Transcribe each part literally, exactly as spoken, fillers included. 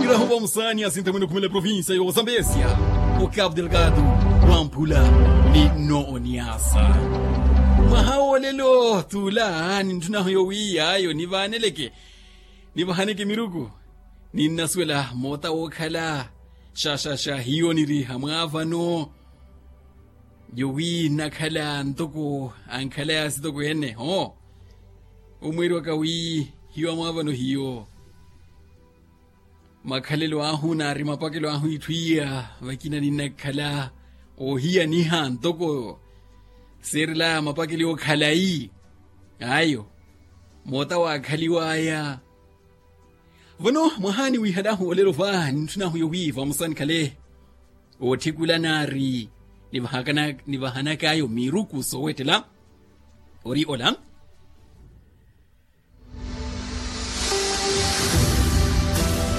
Ahuva musaani asinta mwene okhumela provincia yo zambezia, o cabo delgado, wamphula ni no oniasa. Mwaha wolelo tula ni ntthunahu yowiya yo nivaaneleke, nivahaneke miruku. Ninnasuwela moota wookhala xaxaxa hiyo niriha mwaavano. Yowi nnakhala ntoko ankhala yaasitoko ene ho. Omweeriwaka wi hiyo amwaavano hiyo. Makhalelo ahu naari mapakelo ahu itthu iya vakina ninnakhala oohiyaniha ntoko seerelaya mapakelo yookhalayi. Ayo moota waakhaliwaya. Vano mwahaani wiihalahu olelo va nintthun'ahu yowi vamosa nikhale ootthikula naari nivahanak'ayo miruku soowettela ori ola.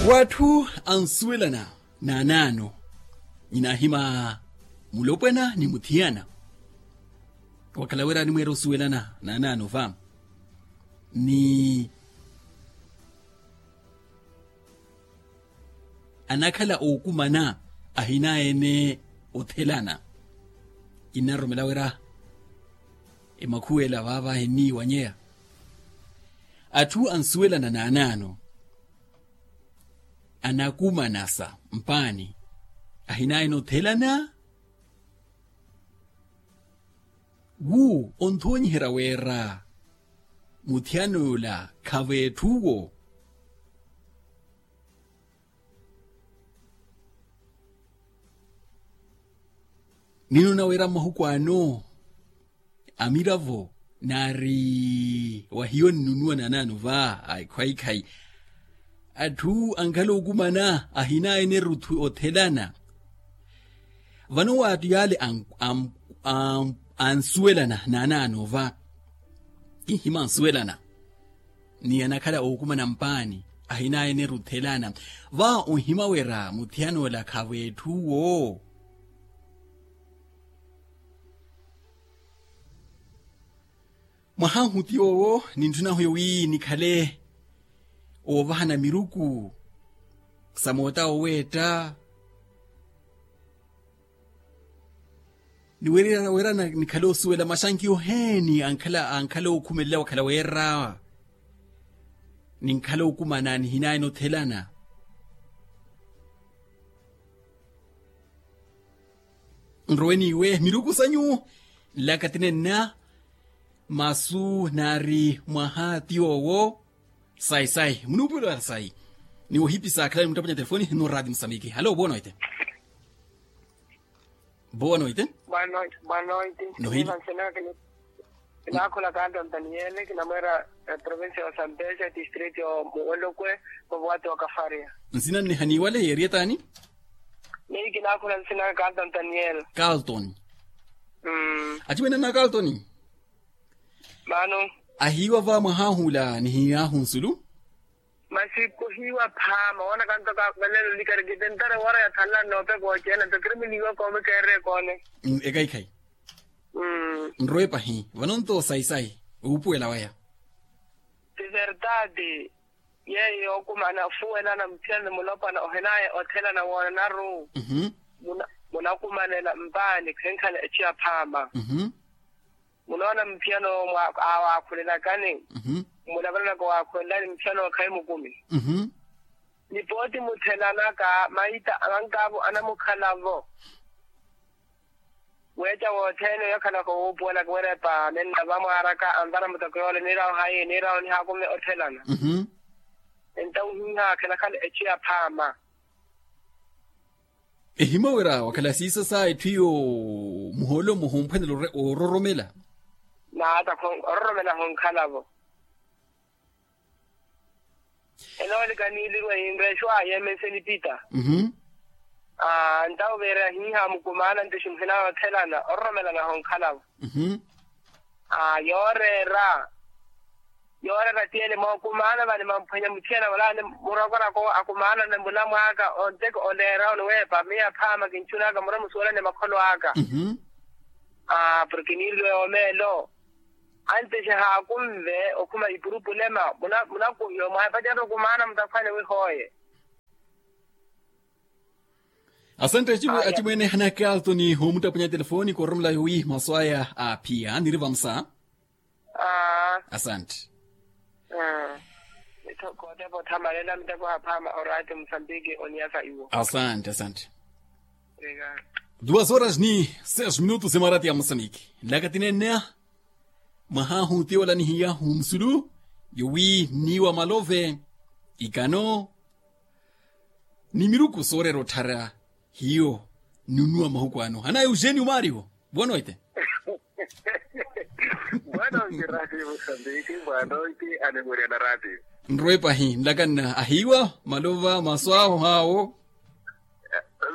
W'atthu ansuwelana naanaano ninaahima mulopwana ni muthiyana. Wakhala wira animweera osuwelana naanaano va ni anakhala ookumana ahinaya-ene othelana. Innaroromela wira emakhuwela vaava henniiwanyeya. Atthu ansuwelana naanaano anakumanasa mpaani ahinaya-ene othelana. Wu onthoonyiherya wira muthiyana ola khav'etthuwo. Ninoona wira mmahuku ano amiravo naari wahiyo nnunuwa naanaano va akhwaikhayi. Atthu ankhala okumana ahinaya-ene rutthu othelana. Vano waattu yaale ansuwelana naanaano va kinhima ansuwelana ni anakhala ookumana mpaani ahinaya-ene ruthelana. Va onhima wira muthiyana ola khav'etthuwo. Mwahahu ti yoowo nintthun'ahu yowi nikhale oovahana miruku sa moota oweetta. Ni wira nikhale osuwela maxankiyo oheeni ankhala ankhala ookhumelela wakhala weera ninkhala okumana nihinaya-ene othelana. Nrowe n'iwe miruku sanyu nlaka tinenna. Masu naari mwaha ti yoowo. Sayi sayi munuupuwelo ya sayi. Ni wohipisa akhala ni muttaponya telefoni no raati musamiki halo boa noite. Boa noite. Boa noite. Nohili. Kinaakhula kanto ntaniele kinamweera provincia ya sambesha distrito ya muwolokwe. Muvuwati wa kafaria. Nsina nne haniiwale yeeriyetaani. Neyi kinaakhula nsina kanto ntaniele. Kaltoni. Aciwene na kaltoni. Mano. Ahiiwa va mwahahu ula nihiyaahu nsulu. Masi kuhiiwa phaama woona kanto kavelelo likarikite ntare woora yathanla noope kooceena nto kiri muniiwa koome keerre koone. Ekaikhayi. Nrowe pahi vano nto sayi sayi. Wuupuwela waya. Ti verdade. Yeeyo yookumana ofuwelana muthiyana ni mulopwana ohinaya othelana woonanaru. Munakumanela mpaani khenkhala echu ya phaama. Munoona muthiyana owo awakhulelakani. Mmulavalelaka owakhulelani muthiyana owo khayi mukumi. Ni pooti muthelanaka maita avankaavo anamukhalavo. Weeca wothene oyo akhalaka owuupuwelaka werepa nenna vamwaaraka anvara mutoko yoole niirawo hayi niirawo nihaakume othelana. Entawo ohiiha akhalakhala echu ya phaama. Ehimya wira wakhala siisa sa etthu iyo muhoolo-mo humphwanela ororomela. Naata ororomela hunkhalavo. Enoolika niilirwe yinreexwa yeemense nipita. Aa ntawo veera yahiiha mukumaana nto eximuhina yoothelana ororomelana honkhalavo. Aa yooreera yooreera tiyene mookumaana vale mamphwenya muthiyana vale murokorokowo akumaanane mulamwaaka onteko oleera oniweepa miyo aphaama kinchunaka mura musuwelane makholo aka. Aa porke niiriliwe yoomeelo. Antexe haakunve okhuma ipurupulema munakuhiwa mwahepacerya okumaana mutakhwane wihooye. Asante. Acimwene hanakaalto ni homuttapunya telefoni koromela yowi masu aya aaphiya niri vamusa. Asante. Mitthoko otepa othamalela miteko haphaama oraati musambiki oniyasa iwo. Asante asante. Duas horas ni seis minutos emarati ya musambiki nlakatinenneya. Mwahahu tiwalanihiyahu musulu yowi nniiwa malove ikano ni miruku sooreera otthara hiyo. Nunnuwa mahuku ano hana eugeni umaariwo. Bwanoite. Bwanoite rati musambiki. Bwanoite animurya na rati. Nrowe pahi nlakanna ahiiwa malova masu awo haawo.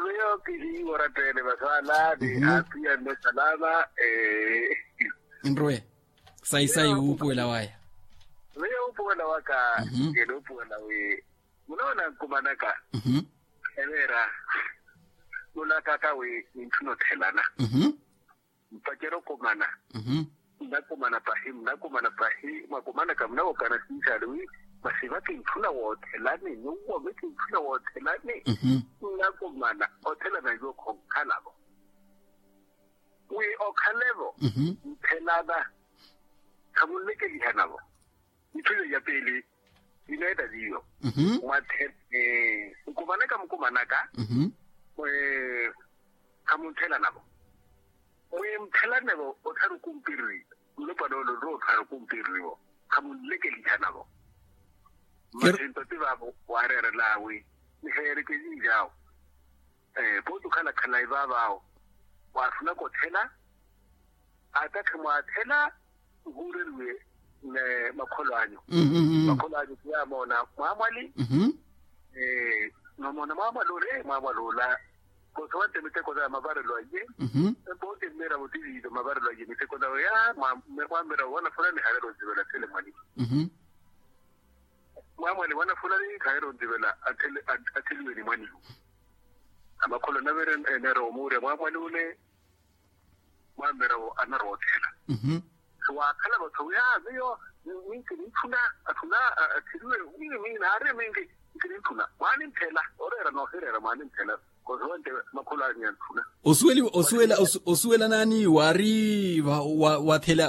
Miyo kihiiwa orattene masu ala ni apiya nno salama. Nrowe sayi sayi wuupuwela waya. Miyo wuupuwela waka. Kene wuupuwela wi munoona nkumanaka. Eveera nulakaka wi nintthuna othelana. Mpacerya okumana. Nnakumana pahi nnakumana pahi mwakumanaka munawokana sinsaali wi masi va kintthuna woothelani nyuwo mi kintthuna woothelani. Nnakumana othelana nyuwo khonkhalavo wi okhalevo nthelana. Khamunlekelihanavo. Itthu iyo ya piili ineetta viiyo. Mwatthe nkumanaka mukumanaka khamuntthelanavo. Mwimphelannevo ottharu kumpiriri. Nlopwana ole onrowa ottharu kumpiririvo khamunlekelihanavo. Masi nto ti vaavo waareerelaawi niheereke yiiyawo. Pooti okhala khalayi vaavaawo waathunaka otthela. Atakhi mwaathela nhuureriwe makholo anyu. Makholo anyu ti yaamoona mwaamwali. Mwamoona mwaamwali ole mwaamwali ola. Kosa wantte miteko zaya mavarelo aye. Pooti mmiravo ti viizo mavarelo aye miteko zawe ya mwamiravo wana fulani halelo nzivela athele mwanihu. Mwaamwali wana fulani khaheera onzivela atheliwe ni mwanihu. Amakholo anavira eneera omuurya mwaamwali ole. Mwaamira wo anarowa otthela. Siwaakhala vatthu wi aa miyo minki nintthuna atthuna. Athiriwe wi mi naari minki nki nintthuna mwaanintthela. Oreera noohireera mwaanintthela. Kosi wante makholo anyu yantthuna. Osuwela naani waari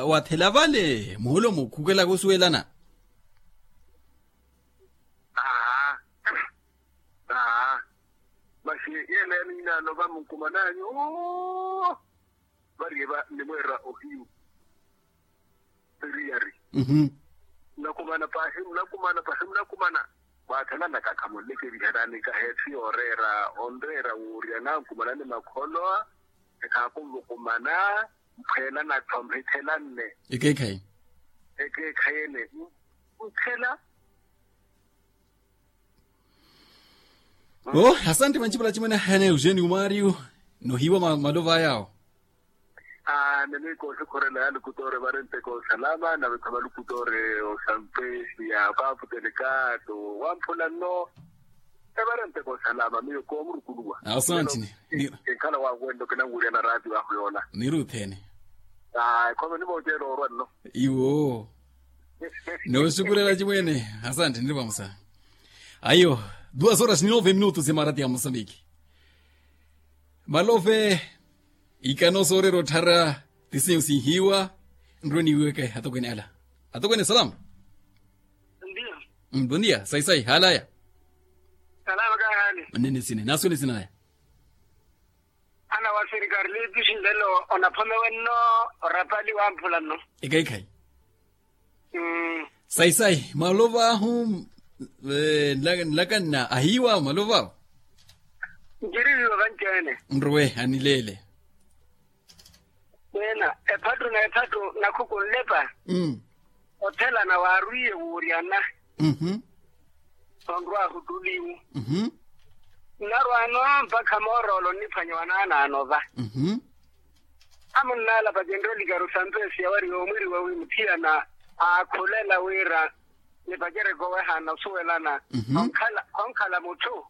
wathela vale muholomo khukelaka osuwelana? Aa. Aa. Masi yeela ya niinaano va munkumananyu. Variye va nimweerera ohiyu. Eriyari. Munakumana pahi munakumana pahi munakumana. Mwaathalanaka khamunlekeliherani kaheethi yooreera onreera wuurya nankumanani makholo. Ekhaakunvukumana mphweela nattho mhithelanne. Ekeekhayi. Ekeekhayi ene. Nthela. Oh asante manchipala chimwene hene eugeni umario. Nohiwa malovo ayao. Aa nene koohikhorela ya lukutore varenteka osalama nave khavalukutoore osampesi ya papu telekato wamphula nno. Evarenteka osalama miyo koomurukuluwa. Asante. Enkhala wawe wento kinanwirya na ratio ahu yoola. Niruthene. Aa ekhome nimoceela orwa nno. Iwo. Noosukulela chimwene. Asante niri vamusa. Ayo. Duas horas ni nove minutos emarati ya mosambiki. Malove. Ikano soorera otthara. Tisinyu sinhiwa. Nrwe niweke atokwene ala. Atokwene salam. Bondia. Sayi sayi halaya. Salama kahaani. Nnene sine naaswene sinaya. Ana wa sirikali liipisi nlelo onaphomewe nno. Orapali wamphula nno. Ekhayi ekhayi. Sayi sayi malovo ahu. Nlakanna ahiiwa malovo ahu. Ncirihiwe vanci-ene. Nruwe anileele. Wina ephattu na ephattu nakhuku nlepa. Othelana waarwiye wuuryana. Onrwaahu ttuliwu. Nnarwaano mpakha mooroolo nniphwanya wanaanaano va. Amunnaalapa kinroolikaru sampesi yawari yoomwiriwa wi muthiyana aakhulela wira nipacereke owehaana osuwelana. Khonkhala mutthu.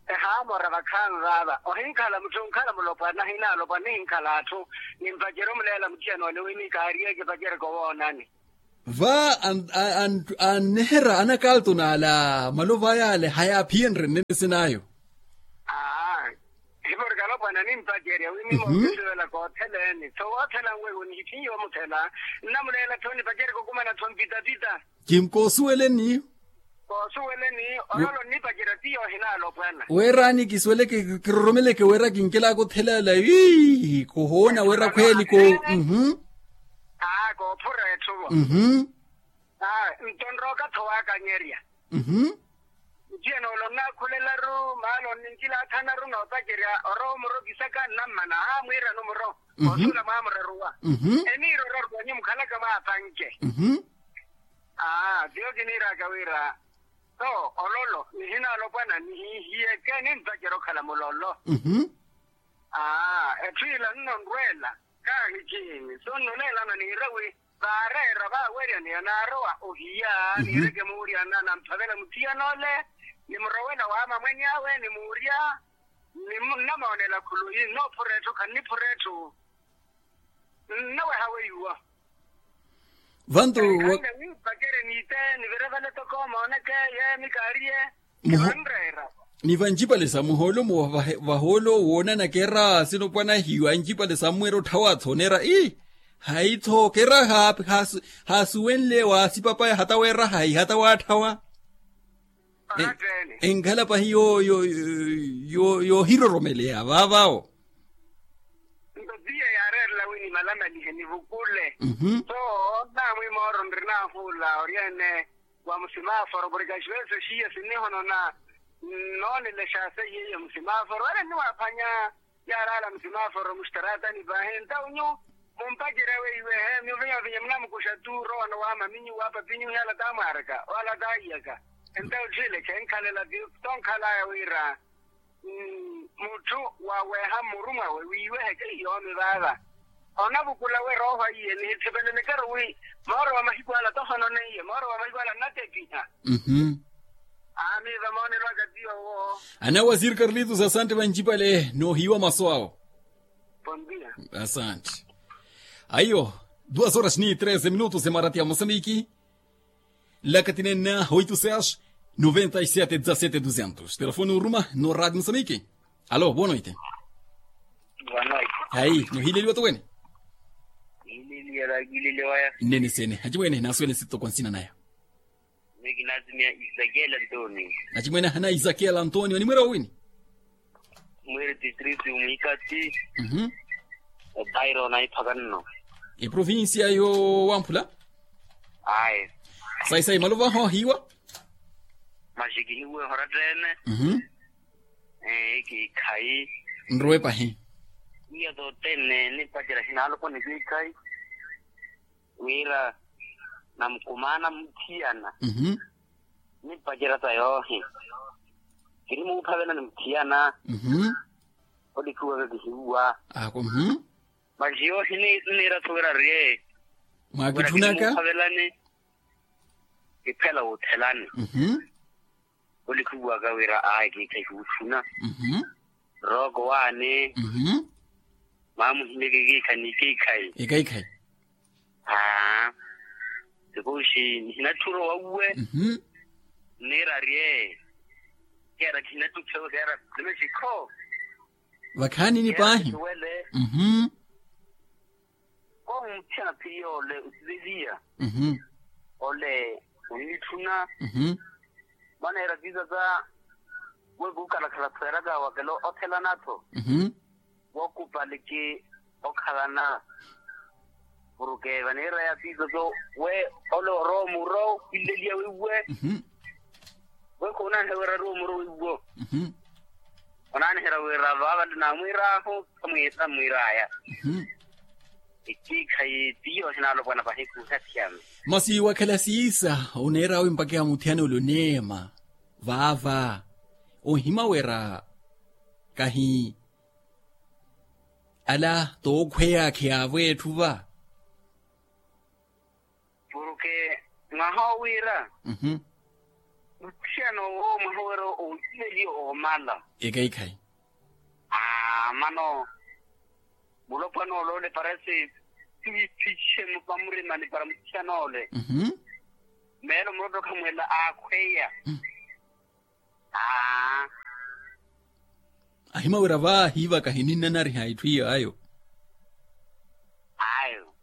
Ehaamora vakhaani vaava ohinkhala mutthu onkhala mulopwana ahinaalopwa nihinkhala atthu. Nimpacere omuleela muthiyana ole wi ni kaariyeke epacereke owoonani. Va anneherya anakaaltoni ala malovo aya ale hayaaphiyenrye nnene sinaayo. Aa. Nimpacerya wi mimookisuwela kootheleeni tho woothela nwewo nihithiiye omuthela. Nnamuleela tho nipacerya kokumana tho mpitapita. Kinkoosuweleni. Koosuweleni. Ololo nnipacerya tiyo ohinaalopwana. Weeraani kisuweleke kiroromeleke weera kinkelaka othelaala ii kuhoona weera khweeli ko. Mhm. Aa koophura etthuvo. Mhm. Aa nto nrooka tho waakanyerya. Mhm. Ntiyene ole onnakhulelaru maana onnincilathanaru noopacerya orowa omuro kisaka nnammana aa mwiirani omuro. Osuula mwaamuraruwa. Mhm. Eniira oraruwa nyuwo mukhalaka mwaapanke. Mhm. Aa tiyo kiniiraka wira tho ololo nihinaalopwana nihihiyeke nimpacerya okhala mulolo. Mhm. Aa etthu ila nnonrweela kaahikiini so nnuleelana niira wi vaareera vaawerya niyo naarowa ohiya niireke muurya nanamphavela muthiyan'ole. Nimurowela waama mwenyawe nimuurya ninnamoonela khuluyi nnoophura etthu khanniphura etthu. Nnaweha weiwa. Vantu. Khanle niipacerye niite nivire vale toko mooneke yeemi kaariye. Muho- Kivanreera. Ni vancipale sa muhoolo mu vahoolo woonanaka era sinopwanahiwa ancipale sammweera otthawa-tho oneera ii hayi-tho kera haasuwenle waasipapaya hata weera hayi hata waatthawa. Enkhala pahi yoohiroromeleya vaavaawo. Nto tiya yaareerela wi nimalamalihe nivukule. So naamwi mooro nrinaahuula oryeene wa musimaforo porke axivese xiya sinnihonona nnoonelexaasa iye iye musimaforo wala nniwaaphwanya. Yaalaala musimaforo muxitaratani paahi ntawu nyu mumpacerya weiwehe miuvinyavinya munamukuxa tu rowa nowaama minyu wa papinyu yaala taamwaaraka wala taiyaka. Entawu tthile khenkhalela ti tonkhalaya wira mutthu waweha mmuru mwawe wiiwehe keiyo omivaava. Onavukula we rooho aiye nihithipelelekero wi mooro wa mahiku ala tohononeiye mooro wa mahiku ala nnatepiha. Aami vamoonelo aka tiyo wo. Ana waziri karlitos asante vancipale noohiiwa masu awo. Asanti. Aiyo, duas horas ni treze minutos emaratya mosamiki. Lakatinenna oito seis noventa e sete dezasete duzentos telefone uruma no radio mosamiki. Alo boa noite. Hayi nohileliwa towene. Nene sene hacimwene nasuwele sitoko nsina naya. Miki nasimia isakiela ntonio. Hacimwene ahana isakiela ntonio ni mwira wowini. Mwiri titrisi umwikati. Epairo na iphaka nno. Eprovincia yo wamphula. Ayi. Sayi sayi malovaho hiwa. Maxiki hiwe horattene. Ekiikhayi. Nrowe pahi. Iya tottene nipacerya hinaloponi kiikhayi. Wira namukumaana muthiyana. Nipacerya ta yoohi. Kinimuuphavela ni muthiyana. Olikhiwaka kihiwa. Ako. Masi yoohi nniira suwira riye. Mwakitthunaka. Kinimuuphavelani. Kiphela wuuthelani. Olikhiwaka wira ayi kiikhayi kuuthuna. Rooko waani. Maamuhimyeke kiikhayi ni kiikhayi. Aa sikuxi nihinatthuro wauwe. Nniira riye. Keera khinattuphewe keera. Nimexikho. Vakhaanini paahi. Suwele. Koohumutthiyana phiri yoole osiveliya. Ole onnitthuna. Maneera tiza sa we kuukhalakhala khweeraka wakela othelana-tho. Wookupaliki okhalana. Puruke vaneera ya tiza so we ole orowa muuro. Kinleliya wiiwe. We khunaaniherya wira rowa muuro wiiwo. Onaaniherya wira vaavale naamwiir'ahu. Amwiir'aya. Ekiikhayi tiyo ohinaalopwana pahi kuuhathiyana. Masi wakhala siisa oneer'awe mpakha muthiyana ole oneema vaava. Ohimawera kahi ala tookhweya akheyaavo etthu va. Puruke mwaha owiira muthiyana owo mwaha owiira owiiveliye oomala. Ekaikhayi. Aa mano mulopwana ole ole parasi tiwiphixe mupamurimani para muthiyana ole. Meelo mulopwana okhamwelela aakhweya. Aa. Himawira va hiivaka hininnanariha itthu iyo ayo. Ayo.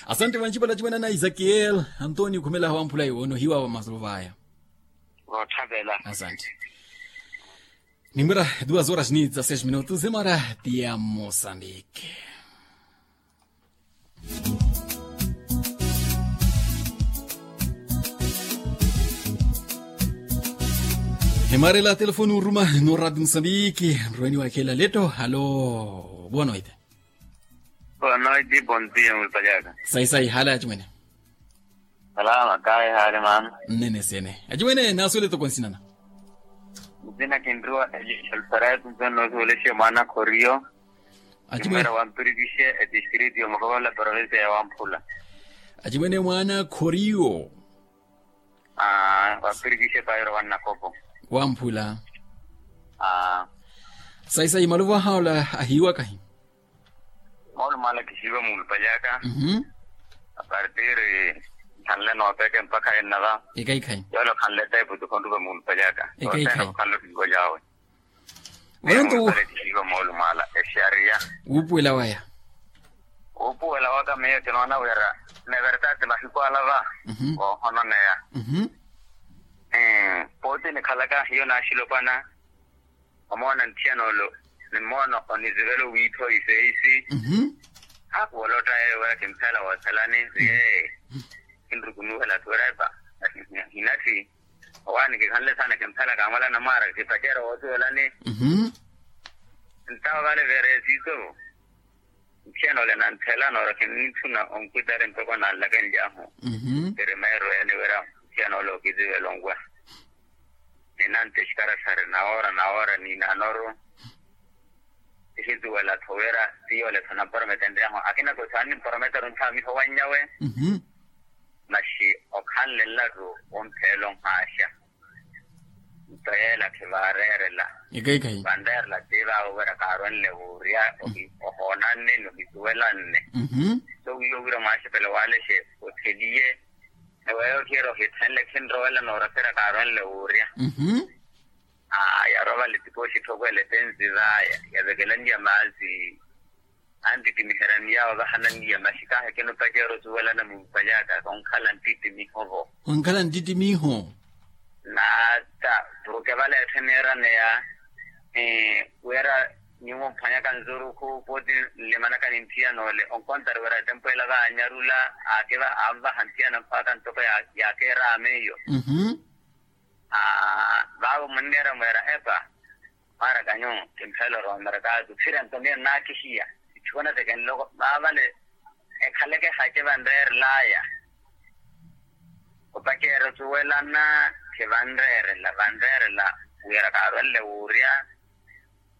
Asante vanci vala acimwene ana isakiel antonio khumelaha wamphula iwo onohiwa va masolo vaya. Votthavela. Asante. Nimbwera duas horas ni dezasseis minutos emara tia moçambique. Hemara ela telefoni uruma no radio moçambique. Nruweni wakhela leto halo. Boa noite. Boa noite, bom dia mulupalhaka. Sai sai hala acimwene. Salama kaye hali mano. Nnene sene acimwene nasuwele toko nsinana. Nzina kinriwa elisha lusaretu nzona nosuweleshe mwana khoriyo. Acimwene. Kimwera wampirikishe etistriti yomukovola provinsia ya wamphula. Acimwene mwana khoriyo. Aa wampirikishe pairo wannakopo. Wamphula. Aa. Sai sai maluvo ahaola ahiiwakahi. Moolumaala kihiiwa muulupalyaaka. Mhm. Apartir nkhanle noopeke mpakha ennava. Ekaikhayi. Yoole okhanle teepu ti khonrupa muulupalyaaka. Ekaikhayi. Okhanle ohiiwa lyawe. Wento. Kihiiwa moolumaala exariya. Wuupuwela waya. Wuupuwela waka miyo kinoona wira ni verdade mahiku ala va. Mhm. Koohononeya. Mhm. Pooti nikhalaka hiyo naaxilopwana. Omoona nthiyana olo ni mmoona onizivela owiitha oifeisi. Mhm. Haakuwolotta yeeyo wira kimphela woothelani. Yee kinrukunuwela atthu wira epa. Hinatthi owaani kikhanle saana kimphela kaamwala namwaara kipacerya woosuwelani. Mhm. Ntawo vale vereesito. Nthiyana ole nanthela noora kinnithuna onkwitari ntoko nanlakenly'ahu. Mhm. Primeiro yani wira nthiyana ole okizivela onwa. Ninantte xikaraxari nawoora nawoora niinaanoru. Tixisuwela-tho wira ti yoole-tho namprometenry'ahu akina koti saanimprometeru nthaamiho wannyawe. Mhm. Maxi okhanle nlattu womphela onhaaxa. Nto yeela khivaareerela. Ekaikhayi. Vanreerela ti vaavo wira kaarwenle wuurya ohoonanne ni ohisuwelanne. Mhm. So wiiwo wira mwaaxepele waalexe otheliye. Eweeyo ohiyeera ohithenle khinrowela nooraserya kaarwenle wuurya. Mhm. Aa yaroovale tipooxi etthokwela epensi vaya yavekelanniya maazi. Antittimiherya ni yaawo vahananniya maxi kaahekina opacerya osuwelana mumpalyaka khonkhala ntittimiho-vo. Khonkhala ntittimiho. Naata porke vale etthu eneeraneya wira nyuwo mphwanyaka nzurukhu pooti nlimanaka ni nthiyana ole onkontari wira tempo ela vaanyarula. Aakiva anvaha nthiyana mpakha ntoko yaakeeraama iyo. Mhm. Vaavo munneera mweera epa. Mwaaraka nyuwo kimphela orowa mmarakaazi ophira nto miyo nnaakihiya. Itthu onateke nloko vaavale ekhaleke ehace vanreerelaya. Opacerya osuwelana khivanreerela vanreerela wira kaarwenle wuurya.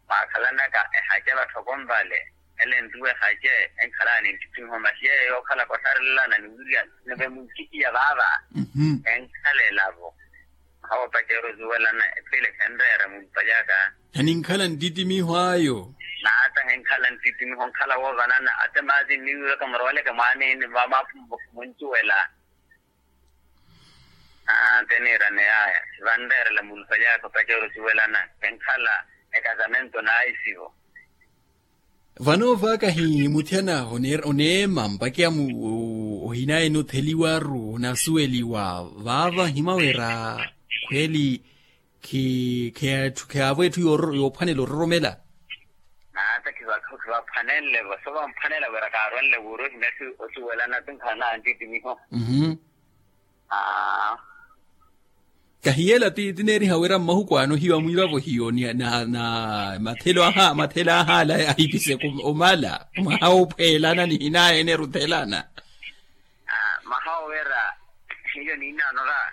Mwaakhalanaka ehace vatthokonvale ele ntuwa ehace enkhalana ni nttittimiho maxi yeeyo yookhalaka ottharelelana ni wirya nive munkihiya vaava. Enkhala elavo. Hawo pacerya osuwelana ephile khenreera mumpalyaka. Heninkhala ntittimiho ayo. Naata henkhala ntittimiho nkhala woovanana ate maazi nniwiwaka muroweleke mwaaniini va maaphumbo muncuwela. Aa nte niirane yaaya. Vanreerela mumpalyaka pacerya osuwelana khenkhala ekasamento naisivo. Vano vaakahi muthiyana oneema mpakiya mu ohinayeni otheliwaru onasuweliwa vaava nhimawira khweli khiyaavo etthu yoophwanela ororomela. Naata khivaphwanenle-vo so vamphwanela wira kaarwenle wuuri ohina etthu osuwelana ti nkhala na antittimiho. Kahiyela ti tineeriha wira mmahuku ano hiyo amwiivavo hiyo ni na mathelo aha mathelo aha ala ahipiseke omala mwaha woophweelana ni hinaye eneruthelana. Mwaha wowira hiyo niinaanora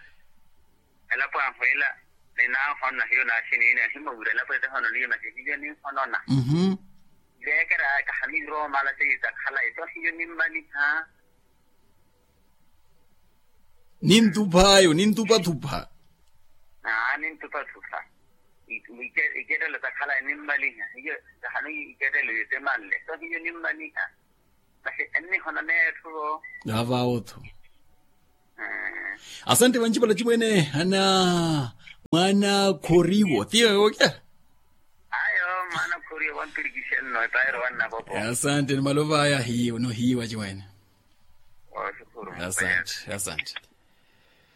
elapo ahwela. Ninaahona hiyo naaxiniina hiyo mawira elapo ete hono niyo nasi hiyo ninhonona. Veekera aka hamiirowa omala seiyo takhala eto hiyo nimmaliha. Nintupha ayo nintupathupha. Aa nintupathupha. Ikettelo takhala nimmaliha hiyo. Tahanu ikettelo yotemanle so hiyo nimmaliha. Masi ennihona neetthu vo. Avaawotho. Asante vancipala cimwene ana. Mwana khoriwo tiyo okya. Ayo, mwana khoriwo wanturikishenno etairo wannapopo. Asante ni malovaya hiyo no hiyo achiwene. Asante. Asante.